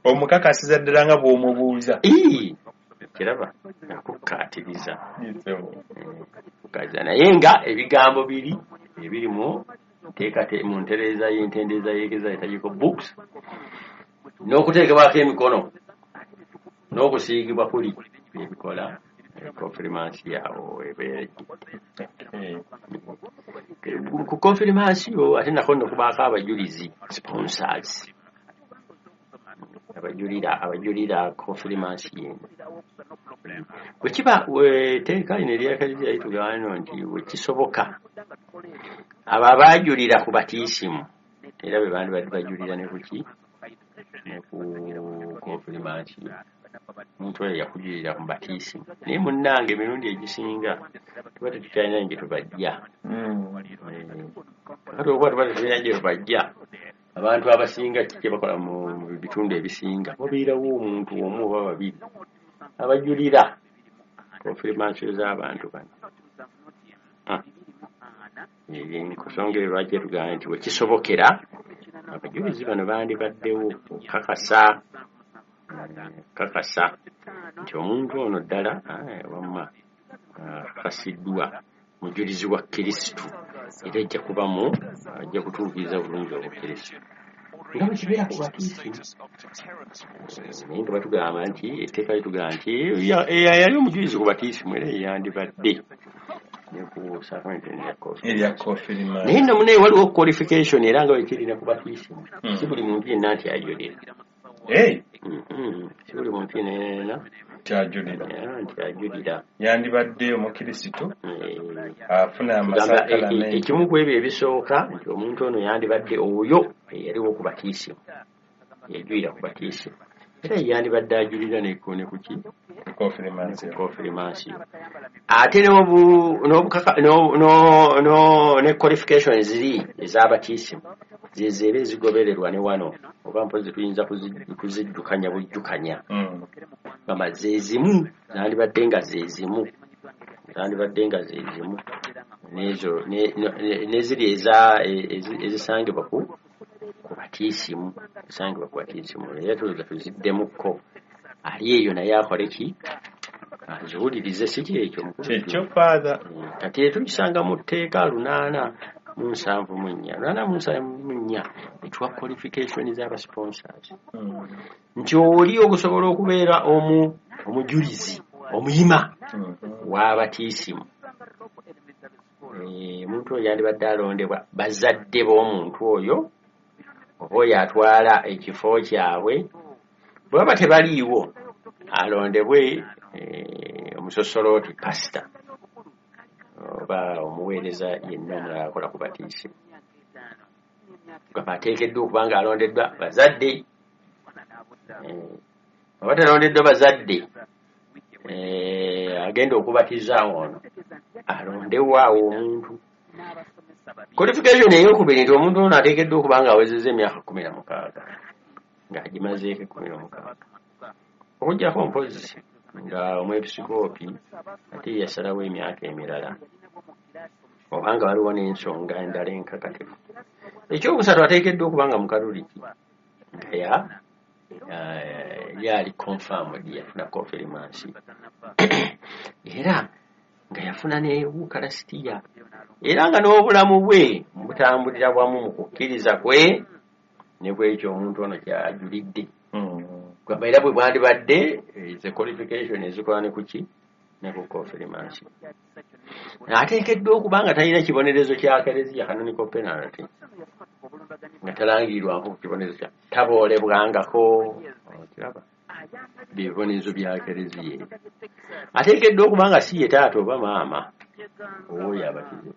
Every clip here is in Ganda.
Omukakasiza ddala nga bw'omubuuza. Kiraba akukkaatiriza. Kukkaatiriza naye nga ebigambo biri ebiri mu mu ntereeza y'entendeeza y'Ekereziya Liturgical Books n'okuteekebwako emikono n'okusiigibwa kuli ebikola konfirmansiyo awo ebeera. Ku konfirmansiyo ate nako nno kubaako abajulizi, sponsors, abajulira konfirmansiyo eno. Bwe kiba etteeka lino erya Kereziya litugamba nno nti bwe kisoboka abo abaajulira ku batiisimu era be bandibadde bajulira ne ku ki, ne ku konfirmansiyo. Omuntu oyo yakujulira ku batiisimu, naye munnange emirundi egisinga tuba tetukyalina gye tubajja. Kati okuba tuba tetulina gye tubajja, abantu abasinga ki kye bakola mu bitundu ebisinga, wabeerawo omuntu omu oba babiri abajulira konfirmansiyo z'abantu bano. Ensonga eyo lwaki etugamba nti bwe kisobokera abajulizi bano bandibaddewo okukakasa nti omuntu ono ddala wamma akakasiddwa mujulizi wa Kristo, era ajja kubamu, ajja kutuukiriza bulungi Obukristo nga bwe kibeera ku batiisimu. Naye nga batugamba nti etteeka litugamba nti yali omujulizi ku batiisimu era yandibadde ne ku sacrament erya konfirmansiyo. Naye nno munaye waliwo qualification era nga bwe kiri ne ku batiisimu, si buli muntu yenna nti ajulira. Si buli muntu yenna nti ajulira. Yandibadde omukristo afuna amasakalamenti. Ekimu ku ebyo ebisooka nti omuntu ono yandibadde oyo eyaliwo ku batiisimu, yajulira ku batiisimu, era yandibadde ajulira ne ku ki, konfirmansiyo. Ate ne qualification ziri ez'abatiisimu zezeera ezigobererwa ne wano, oba mpozi tuyinza kuziddukanya bujjukanya. Gamba zezimu zandibadde nga zezimu, n'ezo n'eziri ezisangibwa ku batiisimu, era tulowooza tuziddemukko. Ali eyo naye akole ki, aziwulirize, si kyekyo kyekyo Father? Kati tukisanga mu tteeka 874 874 etuwa qualification z'aba sponsors nti oli okusobola okubeera omujulizi omuyima w'abatiisimu, omuntu oyo yandibadde alondebwa bazadde b'omuntu oyo oba oyo atwala ekifo kyabwe. Bwe baba tebaliiwo alondebwe omusosolooti, pasita oba omuweereza yenna omulala akola ku batiisimu. Gamba ateekeddwa okuba nga alondeddwa bazadde. Oba talondeddwa bazadde, agenda okubatiza ono alondewo awo omuntu. Qualification ey'okubiri nti omuntu ono ateekeddwa okuba nga awezezza emyaka 16, ng'agimazeeko 16, okuggyako mpozi nga omwepisikoopi ate yasalawo emyaka emirala, obanga waliwo n'ensonga endala enkakatifu. Ekyokusatu ateekeddwa okuba nga mukatuliki, nga yali confirmed, yafuna konfirmansiyo era nga yafuna ne Eucharistia, era nga n'obulamu bwe butambulira bwamu mu kukkiriza kwe ne kwekyo omuntu ono kyajulidde. Gamba era bwe bwandibadde ze qualification ezikola ne kuki, ne ku konfirmansiyo. Ateekeddwa okuba nga talina kibonerezo kya Kereziya, canonical penalty, nga talangirirwako ku kibonerezo kya taboolebwangako, okiraba bibonerezo bya Kereziya ebyo. Ateekeddwa okuba nga si ye taata oba maama owoyo abatize.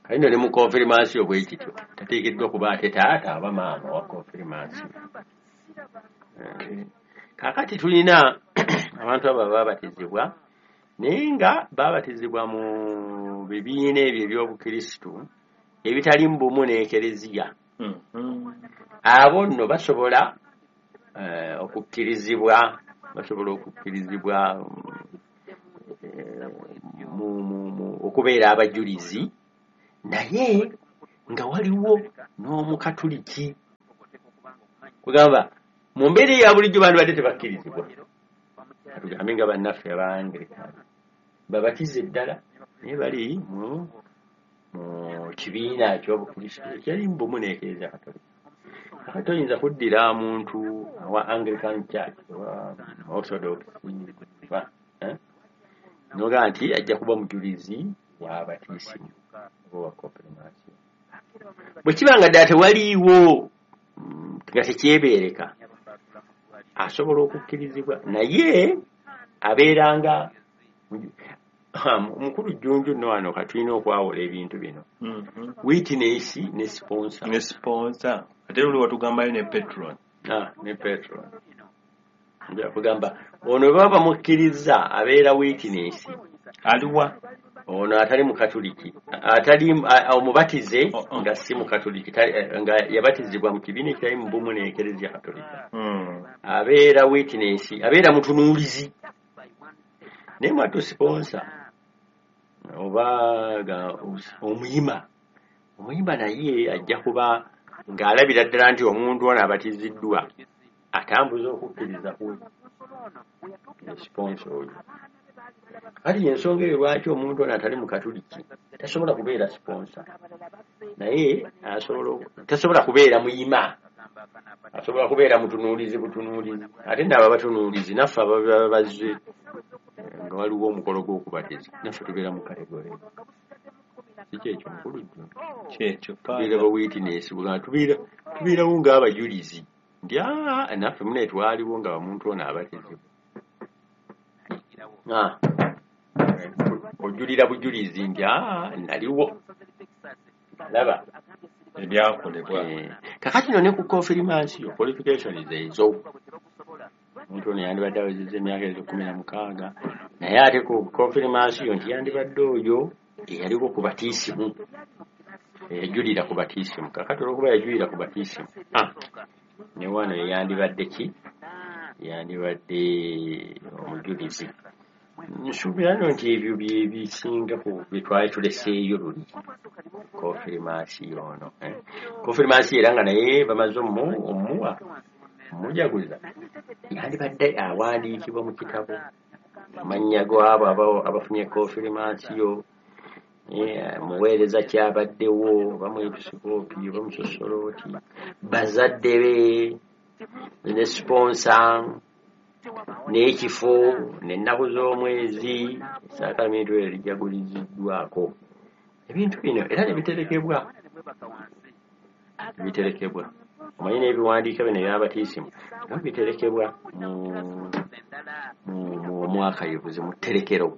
Kale nno ne mu konfirmansiyo bwe kityo, tateekeddwa kuba ate taata oba maama wa konfirmansiyo. Kaakati tulina abantu abo abaabatizibwa naye nga baabatizibwa mu bibiina ebyo eby'Obukristu ebitali mu bumu n'Ekereziya. Abo nno basobola okukkirizibwa, okubeera abajulizi, naye nga waliwo n'omukatuliki. Kugamba Mu mbeera eya bulijjo bandibadde tebakkirizibwa. Tugambe nga bannaffe Abangilikani babatize ddala, naye bali mu kibiina eky'Obukrisitu ekyali mu bumu n'Ekereziya Katolika. Kakati toyinza kuddira muntu owa Anglican Church owa Orthodox n'ogamba nti ajja kuba mujulizi wa batiisimu oba wa konfirmasiyo. Bwe kiba nga ddala tewaliiwo nga tekyebeereka, asobola okukkirizibwa, naye abeeranga mukulu Jjunju nno wano katulina okwawula ebintu bino. Witness ne sponsor. Ne sponsor. Ate luli watugambayo ne patron. Ne patron. Nja kugamba ono baba bamukkiriza abeera witness. Aliwa? Ono atali mukatuliki, atali omubatize nga si mukatuliki, nga yabatizibwa mu kibiina ekitali mu bumu n'Ekereziya Katolika. Abeera witness, abeera mutunuulizi. Naye mwattu sponsor oba omuyima, omuyima naye ajja kuba ng'alabira ddala nti omuntu ono abatiziddwa atambuza okukkiriza ku sponsor oyo. Kati ensonga eyo lwaki omuntu ono atali mukatuliki tasobola kubeera sponsor, naye tasobola kubeera muyima, asobola kubeera mutunuulizi butunuulizi. Ate nno abo abatunuulizi naffe ababa bazze nga waliwo omukolo gw'okubatiza, naffe tubeera mu kategore. Si kyekyo mukulu Jjunju? Kyekyo. Tubeera ba witness, tubeerawo ng'abajulizi nti naffe mune twaliwo nga omuntu ono abatizibwa. Ojulira bujulizi nti naliwo, laba ebyakolebwa. Kakati nno ne ku konfirmasiyo qualifications ezo, omuntu ono yandibadde awezezza emyaka ezo 16, naye ate ku konfirmasiyo nti yandibadde oyo eyaliko ku batiisimu, eyajulira ku batiisimu. Kakati olwokuba yajulira ku batiisimu, ne wano yandibadde ki? Yandibadde omujulizi. Nsuubira nno nti ebyo bye bisinga ku bye twali tuleseeyo luli konfirmasiyo ono. Konfirmasiyo era nga naye bamaze omuwa omujaguza, yandibadde awandiikibwa mu kitabo amannya g'abo abafunye konfirmasiyo, muweereza kyabaddewo, oba mwepisikoopi oba musosolooti, bazadde be ne sponsor n'ekifo n'ennaku z'omwezi esaakamento eryo lijaguliziddwako. Ebintu bino era ne biterekebwa, biterekebwa. Omanyi n'ebiwandiiko bino eby'abatiisimu nga biterekebwa mu mwakayivuzi mu tterekero,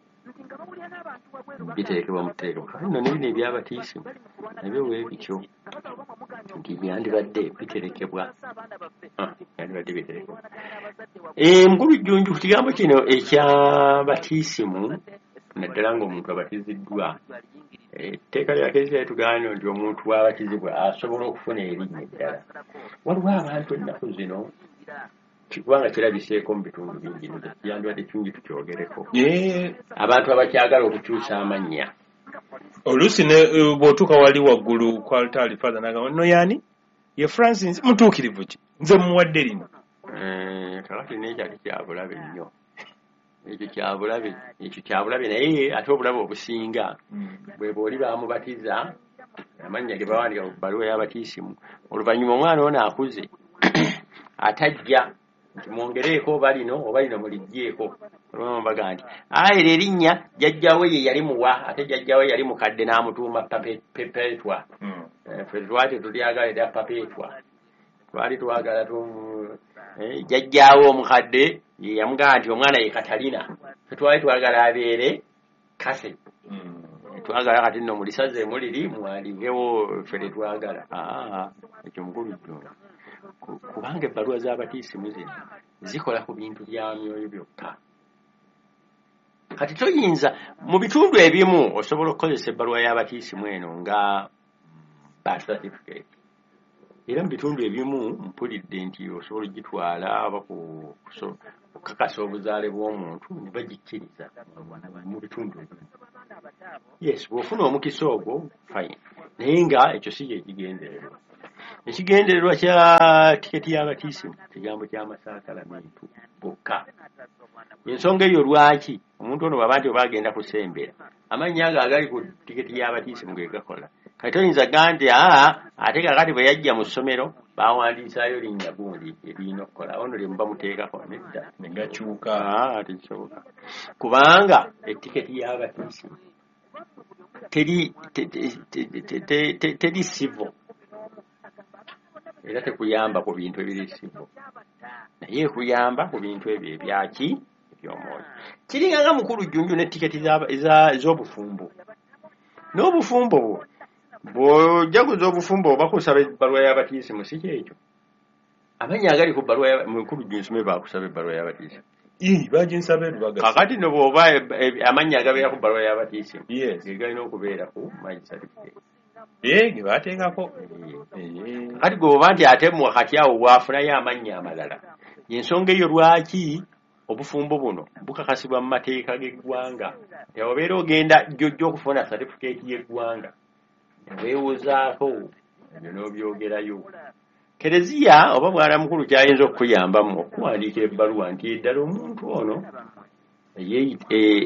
biterekebwa mu tterekero. Kale nno ne bino eby'abatiisimu nabyo bwe bityo nti byandibadde biterekebwa, byandibadde biterekebwa. Mukulu Jjunju, ku kigambo kino eky'abatiisimu, naddala ng'omuntu abatiziddwa, etteeka lya Kereziya litugamba nti omuntu bw'abatizibwa asobola okufuna erinnya eddala. Waliwo abantu ennaku zino, kubanga kirabiseeko mu bitundu bingi, yandibadde kirungi tukyogereko. Abantu abakyagala okukyusa amannya. Oluusi bw'otuuka wali waggulu ku altaari, Father n'agamba nno yaani ye Francis mutuukirivu ki, nze mmuwadde lino. Kakati n'ekyo ate kyabulabe nnyo, ekyo kyabulabe, ekyo kyabulabe. Naye ate obulabe obusinga bwe bw'oli baamubatiza amannya ge bawandiika ku bbaluwa y'abatiisimu, oluvannyuma omwana ono akuze atajja nti mwongereeko oba lino oba lino muliggyeeko. Olwo baga nti eryo erinnya jjajjaawe ye yali muwa, ate jjajjaawe yali mukadde n'amutuuma Perpetua. Ffe twali tulyagala erya Perpetua, twali twagala jjajjaawe omukadde ye yamugamba nti omwana ye Katalina, ffe twali twagala abeere Kase. Twagala kati nno mulisaze muliri muwandiikewo ffe tetwagala. Ekyo mukulu Jjunju, kubanga ebbaluwa z'abatiisimu zino zikola ku bintu bya myoyo byokka. Kati toyinza mu bitundu ebimu osobola okukozesa ebbaluwa y'abatiisimu eno nga birth certificate, era mu bitundu ebimu mpulidde nti osobola ogitwala oba kukakasa obuzaale bw'omuntu ne bagikkiriza mu bitundu ebimu. Yes, bw'ofuna omukisa ogwo fine, naye nga ekyo si kye kigendererwa. Ekigendererwa kya tiketi y'abatisimu kigambo ky'amasakalamentu gokka. Ensonga eyo lwaki omuntu ono bw'aba nti oba agenda kusembera, amannya ago agali ku tiketi y'abatisimu ge gakola. Kati toyinza gamba nti ate kaakati bwe yajja mu ssomero baawandiisaayo linnya gundi eririna okukola, ono lye muba muteekako nedda. Ne gakyuka. Tekisoboka. Kubanga etiketi y'abatisimu teri sivo. Era tekuyamba ku bintu ebiri sivo. Naye ekuyamba ku bintu ebyo ebyaki eby'omwoyo. Kiringa nga mukulu Jjunju ne tiketi ez'obufumbo. N'obufumbo bwo bw'ojaguza obufumbo bakusaba ebbaluwa y'abatisimu, si kyekyo? Amannya agali ku bbaluwa mukulu Jjunju sume baakusaba ebbaluwa y'abatisimu. Baginsaba erubaga. Kakati nno bw'oba amannya agabeera ku bbaluwa y'abatisimu ge galina okubeera ku marriage certificate. Ge baateekako. Kati gwe bw'oba nti ate kati awo bw'afunayo amannya amalala. Ensonga eyo lwaki obufumbo buno bukakasibwa mu mateeka g'eggwanga. Obeera ogenda jjojja okufuna certificate y'eggwanga. Weewozaako ebyo n'obyogerayo. Kereziya oba bwana mukulu kyayinza okukuyambamu okuwandiika ebbaluwa nti ddala omuntu ono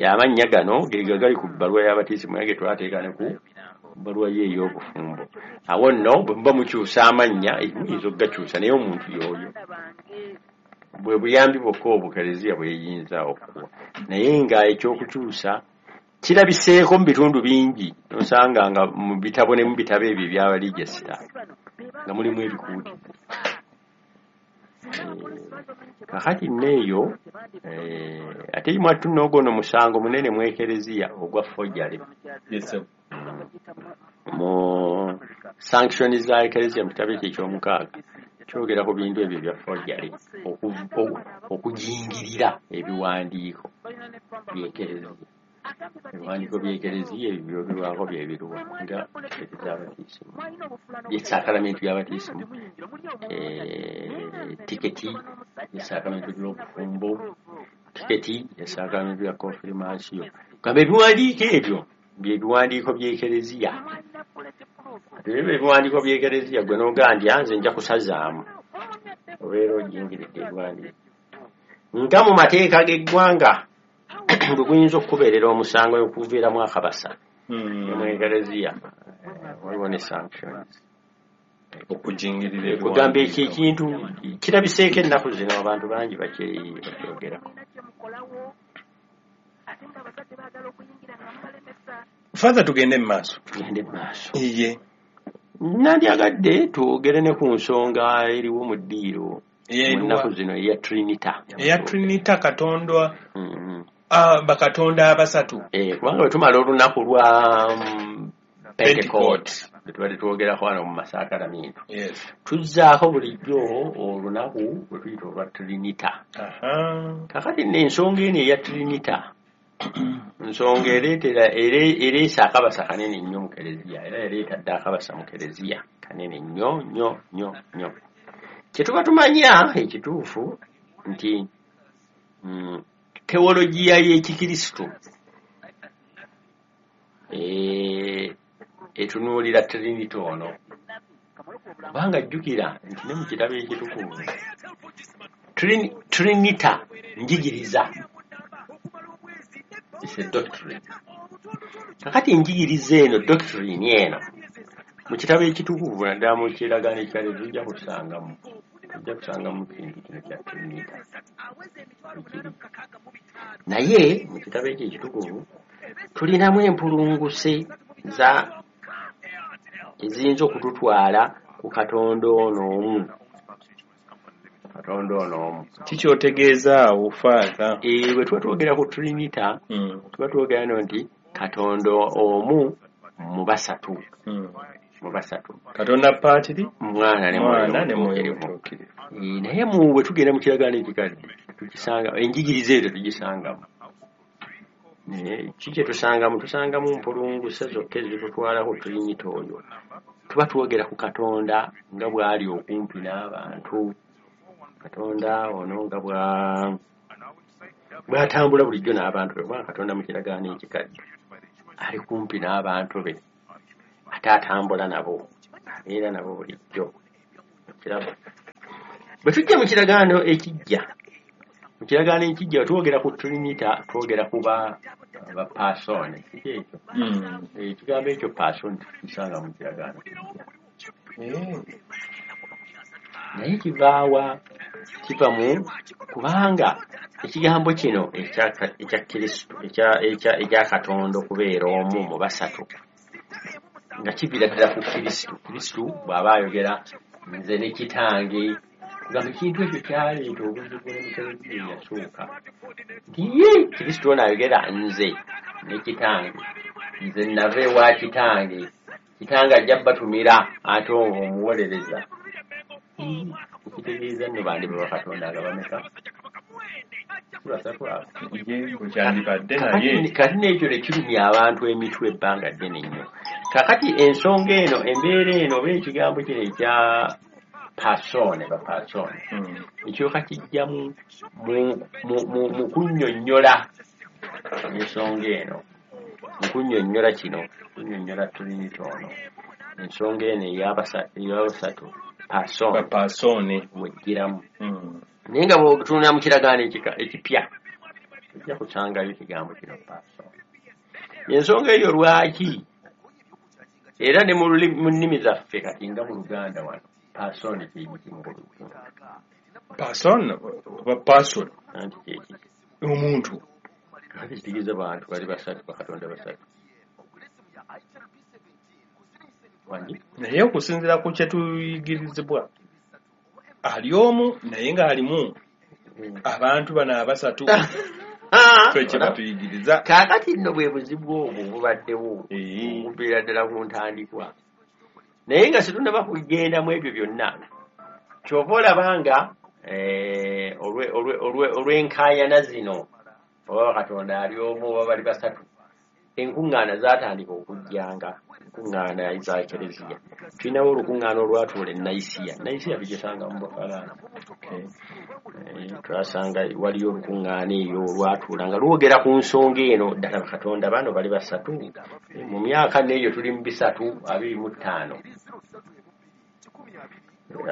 amannya gano ge gali ku bbaluwa y'abatisimu naye ge twateeka ne ku bbaluwa ye ey'obufumbo. Awo nno bwe muba mukyusa amannya muyinza okugakyusa naye omuntu y'oyo. Bwe buyambi bwokka obwo Kereziya bwe yeyinza okuwa. Naye nga ekyokukyusa kirabiseeko mu bitundu bingi nosanga nga mu bitabo ne mu bitabo ebyo ebyabalijisita nga mulimu ebikuuti. Kakati nneeyo ate mwattu n'ogwo musango munene mu Ekereziya ogwa forgery. Mu sanction za Ekereziya mu kitabo ekyo eky'omukaaga kyogera ku bintu ebyo ebya forgery, okujingirira ebiwandiiko by'Ekereziya. Ebiwandiiko by'Ekereziya ebyo byogerwako bye biruwa nga tiketi z'abatisimu, y'essakalamentu y'abatisimu, tiketi y'essakalamentu y'obufumbo, tiketi y'essakalamentu ya konfirmasiyo. Gamba ebiwandiiko ebyo bye biwandiiko by'Ekereziya. Ate ebyo ebiwandiiko by'Ekereziya gwe n'ogamba nti nze nja kusazaamu, obeera ojingiridde ebiwandiiko. Nga mu mateeka g'eggwanga bwe guyinza okukubeerera omusango okuviiramu akabasa mu Ekereziya, waliwo ne sanctions. Okujingirira kugamba ekyo ekintu kirabiseeko ennaku zino abantu bangi bakyogerako. Father, tugende mu maaso. Tugende mu maaso. Iye. Nandyagadde twogere ne ku nsonga eriwo mu ddiiro mu nnaku zino eya Trinita. Eya Trinita Katonda bakatonda abasatu. Kubanga bwe tumala olunaku lwa Pentecost tubadde twogerako wano mu masakalamentu. Tuzzaako bulijjo olunaku lwe tuyita olwa Trinita. Kakati nno ensonga eno eya Trinita nsonga ereesa akabasa kanene nnyo mu Kereziya, era ereeta dda akabasa mu Kereziya kanene nnyo nnyo nnyo nnyo. Kye tuba tumanya ekituufu nti teologiya y'Ekikristo etunuulira Trinity ono. Kubanga jjukira nti ne mu kitabo ekitukuvu Trinita njigiriza. It's a doctrine. Kakati njigiriza eno, doctrine eno mu kitabo ekitukuvu naddala mu kiragaano ekikadde tujja kusangamu kintu kino kya Trinita. Naye mu kitabo ekyo ekitukuvu tulinamu empulunguse za eziyinza okututwala ku Katonda ono omu. Katonda ono omu. Kikyotegeeza awo, Father? Bwe tuba twogera ku Trinita, tuba twogera no nti Katonda omu mu basatu. Mu basatu. Katonda Patri, Mwana ne Mwoyo Mutuukirivu. Naye bwe tugenda mu kiragaano ekikadde tukisanga, enjigiriza eyo tetugisangamu. Ki kye tusangamu? Tusangamu mpulunguse zokka ezitutwala ku Trinita oyo. Tuba twogera ku Katonda nga bw'ali okumpi n'abantu. Katonda ono nga bw'atambula bulijjo n'abantu be, kubanga Katonda mu kiragaano ekikadde ali kumpi n'abantu be, ate atambula nabo, abeera nabo bulijjo. Okiraba, bwe tujja mu kiragaano ekijja, mu kiragaano ekijja twogera ku trinita, twogera ku ba bapasoone. Kiki ekyo? Ekigambo ekyo pasoone tukisanga mu kiragaano kijja. Naye kivaawa? Kiva mu kubanga ekigambo kino ekya Kristo, ekya Katonda okubeera omu mu basatu, nga kiviira ddala ku Kristo. Kristo bw'aba ayogera nze ne kitange, kugamba ekintu ekyo kyaleeta obuzibu ne mu Kereziya eyasooka, nti ye Kristo ono ayogera nze ne kitange, nze nava ewa kitange, kitange ajja batumira ate omuwolereza. Ekitegeeza nno bandiba bakatonda nga bameka? Basatu abo. Ye bwe kyandibadde naye. Kati n'ekyo ne kirumya abantu emitwe ebbanga ddene nnyo. Kakati ensonga eno, embeera eno, oba ekigambo kino ekya pasoone, bapasoone, ekyoka kijja mu kunnyonnyola ensonga eno, mu kunnyonnyola kino, kunnyonnyola trinity ono, ensonga eno ey'abasatu pasoone bapasoone wejjiramu. Naye nga bw'otunula mu kiragaano ekipya ojja kusangayo ekigambo kino pasoone. Ensonga eyo lwaki era ne mu nnimi zaffe kati nga mu Luganda wano pasoone kyekiki mu Luganda? Person oba person? Anti kyekiki? Omuntu. Kati kitegeeza bantu bali basatu, bakatonda basatu. Wangi? Naye okusinziira ku kye tuyigirizibwa, ali omu naye ng'alimu abantu bano abasatu, ffe kye batuyigiriza. Kaakati nno bwe buzibu obwo bubaddewo okuviira ddala ku ntandikwa, naye nga situnnaba kugenda mu ebyo byonna. Kyova olaba nga olw'enkaayana zino, oba Katonda ali omu oba bali basatu, enkuŋŋaana zaatandika okujjanga, enkuŋŋaana za Kereziya. Tulinawo olukuŋŋaana olwatuula e Nayisiya. Nayisiya tugisanga mu Bufalansa. Twasanga waliyo olukuŋŋaana eyo olwatuula nga lwogera ku nsonga eno, ddala Katonda bano bali basatu. Mu myaka n'eyo tuli mu 325,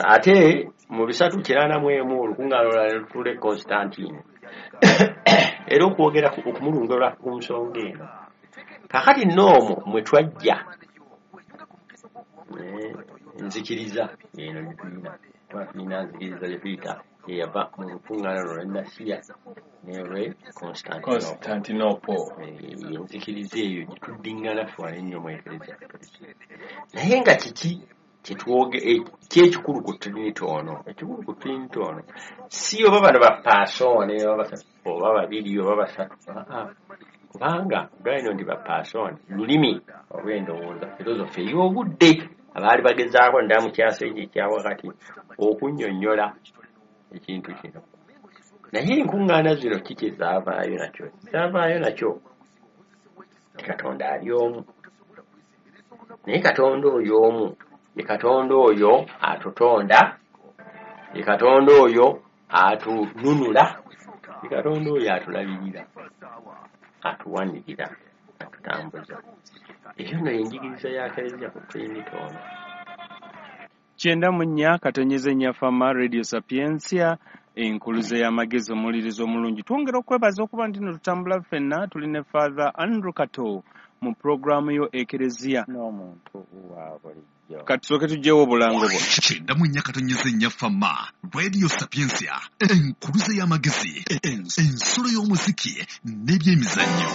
ate mu 391 olukuŋŋaana olulala ne lutuula e Constantine, era okwogera okumulungola ku nsonga eno. Kaakati nno omwo mwe twajja nzikiriza eno gye tulina, kuba tulina nzikiriza gye tuyita eyava mu lukuŋŋaana luno lw'e Nasiya n'olw'e Constantinople. Enzikiriza eyo gye tuddiŋŋana ffe wano ennyo mu Ekereziya Katoliki. Naye nga kiki ki ekikulu ku Trinity ono? Ekikulu ku Trinity ono si oba bano bapasoone oba basatu oba babiri oba basatu, kubanga galino nti bapasoone lulimi olw'endowooza filosofi ey'obudde abaali bagezaako ddala mu kyasa ekyo ekya wakati okunnyonnyola ekintu kino. Naye enkuŋŋaana zino kiki zaavaayo nakyo? Zaavaayo nakyo nti Katonda ali omu, naye Katonda oyo omu ye Katonda oyo atutonda, ye Katonda oyo atununula, ye Katonda oyo atulabirira, atuwanirira, atutambuza. Eyo nno y'enjigiriza ya Kereziya ku Trinity ono. 94.4 Fama Radio Sapientia, enkuluze y'amagezi, omuwuliriza omulungi. Twongera okwebaza okuba nti nno tutambula ffenna, tuli ne Father Andrew Kato mu pulogulaamu yo Ekereziya n'omuntu wa bulijjo. Kati tusooke tuggyewo obulango bwo. 94.4 Fama Radio Sapientia, enkuluze y'amagezi, ensulo y'omuziki n'ebyemizannyo.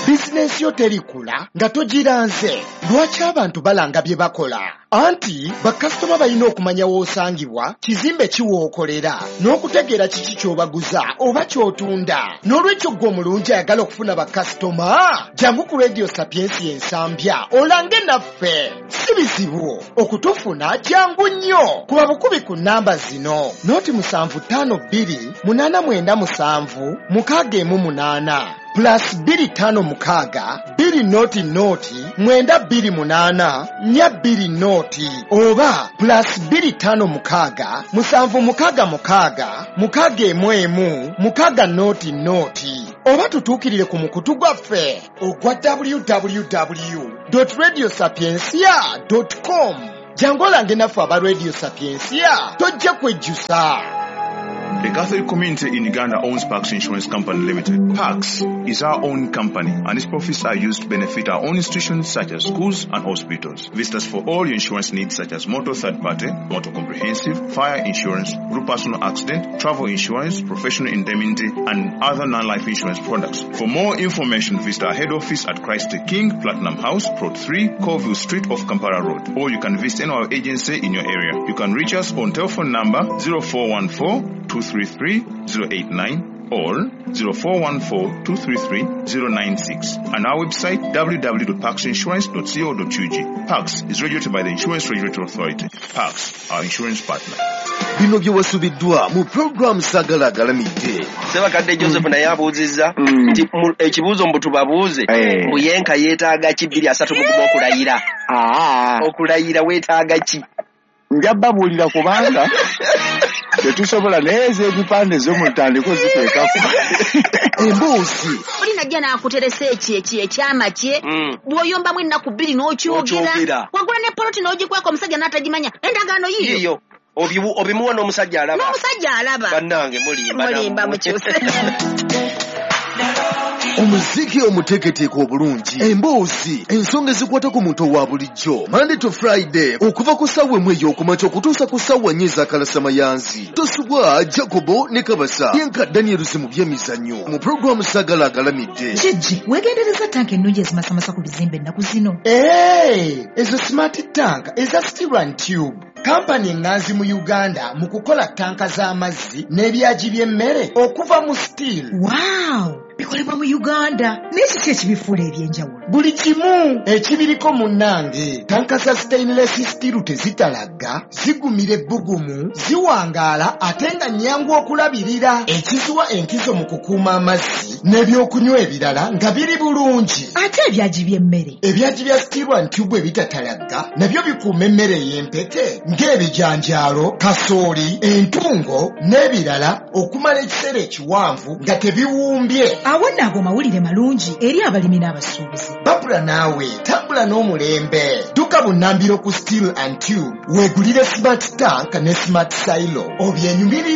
Bizinensi yo terikula nga togiranze. Lwaki abantu balanga bye bakola? Anti bakasitoma balina okumanya w'osangibwa, kizimbe ki w'okolera, n'okutegeera kiki ky'obaguza oba ky'otunda. N'olwekyo ggwe omulungi ayagala okufuna bakasitoma, jangu ku Radio Sapientia Ensambya olange naffe. Si bizibu okutufuna, jangu nnyo. Kuba bukubi ku nnamba zino: 0 752 897 618, +256 2 0 0 928 420, oba +256 766 611 600, oba tutuukirire ku mukutu gwaffe ogwa www.radiosapiencia.com. Jangu olange naffe aba Radio Sapiensia, tojja kwejjusa. The Catholic community in Uganda owns Pax Insurance Company Limited. Pax is our own company and its profits are used to benefit our own institutions such as schools and hospitals. Visit us for all your insurance needs such as motor third party, motor comprehensive, fire insurance, group personal accident, travel insurance, professional indemnity and other non-life insurance products. For more information, visit our head office at Christ the King, Platinum House, Plot 3, Colville Street off Kampala Road. Or you can visit any of our agency in your area. You can reach us on telephone number 0414 233 089 or 0414 233 096 and our website www.paxinsurance.co.ug. Pax is regulated by the Insurance Regulatory Authority. Pax, our insurance partner. Bino bye wasubiddwa mu pulogulaamu Saagala Agalamidde. Sebakadde Joseph naye abuuzizza nti ekibuuzo mbu tubabuuze, mbu yenka yeetaaga ki 2031 okulayira? Okulayira weetaaga ki? Nja babuulira kubanga tetusobola, naye ez'ebipande zo mutandike oziteekako. Emboozi Oli najja n'akuteresa ekyo ekyama kye, bw'oyombamu ennaku 2 n'okyogera, wagula ne poloti n'ogikweka omusajja n'atagimanya, endagaano yiyo obimuwa n'omusajja alaba, n'omusajja alaba. Bannange mulimba, mulimba, mukyuse. Omuziki omuteeketeeke obulungi, emboozi, ensonga ezikwata ku muntu owa bulijjo. Monday to Friday okuva ku ssaawa 1 ey'okumakya okutuusa ku ssaawa 4 ez'akalasamayanzi. Tosubwa Jacobo ne Kabasa yenka Daniels mu byemizannyo mu pulogulaamu Saagala Agalamidde. Jjajji, weegendereza tanka ennungi ezimasamasa ku bizimbe ennaku zino. Ezo smart tank eza Steel and Tube, kampani eŋŋanzi mu Uganda mu kukola tanka z'amazzi n'ebyagi by'emmere okuva mu steel. Wow, bikolebwa mu Uganda, naye kiki ekibifuula ebyenjawulo? Buli kimu ekibiriko munnange. Tanka za stainless steel tezitalagga, zigumira ebbugumu, ziwangaala ate nga nnyangu okulabirira, ekiziwa enkizo mu kukuuma amazzi n'ebyokunywa ebirala nga biri bulungi. Ate ebyagi by'emmere? Ebyagi bya Steel and Tube ebitatalagga nabyo bikuuma emmere ey'empeke ng'ebijanjaalo, kasooli, entungo n'ebirala okumala ekiseera ekiwanvu nga tebiwumbye. Awo nno ago mawulire malungi eri abalimi n'abasuubuzi. Babula naawe tambula n'omulembe. Dduka bunnambiro ku Steel and Tube weegulire smart tank ne smart silo obyenyumirire.